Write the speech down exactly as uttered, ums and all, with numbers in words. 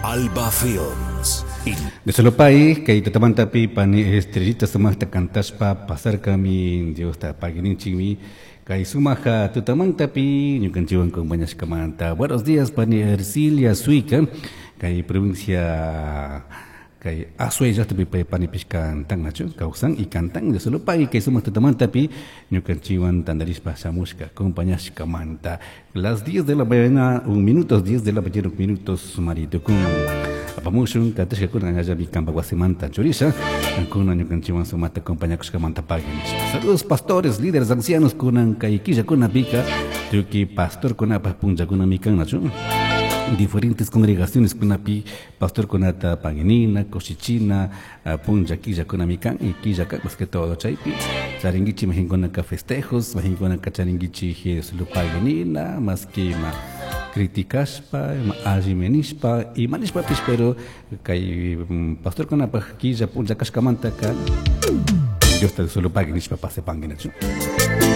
Alba Films. De solo país, kay tutamantapi pani Estrellita sumaqta cantashpa pasarkami Diosta pagininchikmi kay sumaqa tutamantapi ñukanchikwan acompañashkamanta. Buenos días, pani Ercilia Suica, kay provincia kay Azuay llaqtapi pay panipish cantan, nachu kawsan y cantan de solo pay kay sumaq tutamantapi ñukanchikwan tandarishpa shamushka acompañashkamanta. Las diez de la mañana, un minutos, diez de la mañana, un minutos, maritukun. Apamushun katishkakuna ñallami kampa wasimanta churisha kankuna ñukanchikwan sumata acompañakushkamanta pagui nishpa. Saludos, pastores, líderes, ancianos, kunan kay killakunapika tukuy pastorkunapaj punllakunami kan, nachu diferentes congregaciones kunapi pastorkunata paginina kushichina punlla killakunami kan y killa kan más que todo chaypi charinkichik mahinkunaka festejos, mahinkunaka charinkichik solo paginina más que ma criticashpa alli nishpa y manishpapish, pero kay pastorkunapaj killa punlla kashkamantaka Diosta solo pagui nishpa pase panguinachu.